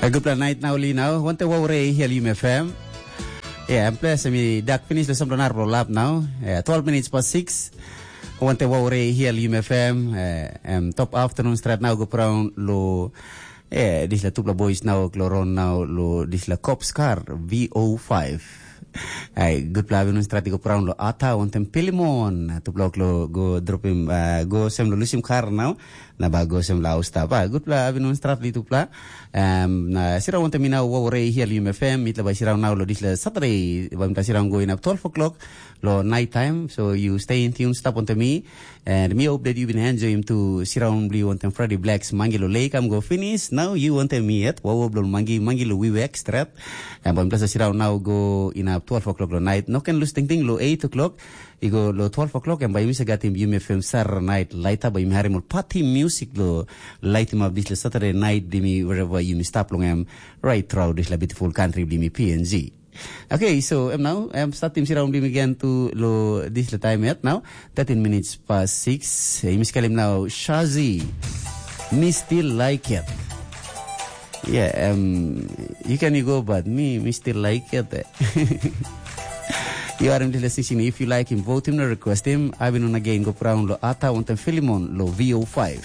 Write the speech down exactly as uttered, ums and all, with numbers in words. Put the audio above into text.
Gutpela nait nau li nau, wante wau rei hial Yum F M. Ya, em ples mi dak finish lo sampla nar lo lap nau. Ya, twelve minutes past six. Wante wau rei hial Yum F M. Eh, em top afternoon strat nau go praun lo, eh, disla tupla boys nau kloron nau lo disla cops car V O five. Ai, gutpela afternoon strat go praun lo ata wantem Pilimon. Tupla lo go dropim, uh, go sem lo lusim kar nau. Na ba go sem lo stap. Ah, gutpela afternoon strat li tupla. Um, na sira wantem mi nau wau rei hial Yum F M. Mitla ba sira nau lo disla Saturday. Ba mitla sira go in up twelve o'clock lo night time. So you stay in tune, stap wantem mi. And mi hope that you been enjoying to sira bli wantem Freddy Blacks mangi lo lake am go finish. Now you wantem mi yet. Wau blo mangi, mangi lo wiwek strat. And ba mitla sira nau go in up twelve o'clock lo night. No can lose ting ting lo eight o'clock. I go lo twelve o'clock, em bai yumi sa gatim Yumi F M Saturday Night Laita, bai yumi harim ol party music lo laitim up disla Saturday night, dimi wherever yumi stap long em, right throughout disla beautiful country blimi P N G. Okay, so em now, em startim siraun blimi again to lo disla time yet now, thirteen minutes past six. Yumi skalim now Shazi. Me still like it. Yeah, um, you can go, but me, me still like it. Eh. You are in the decision. If you like him, vote him, no request him. I've been on again, go around lo Ata, want them Philemon, lo V O five.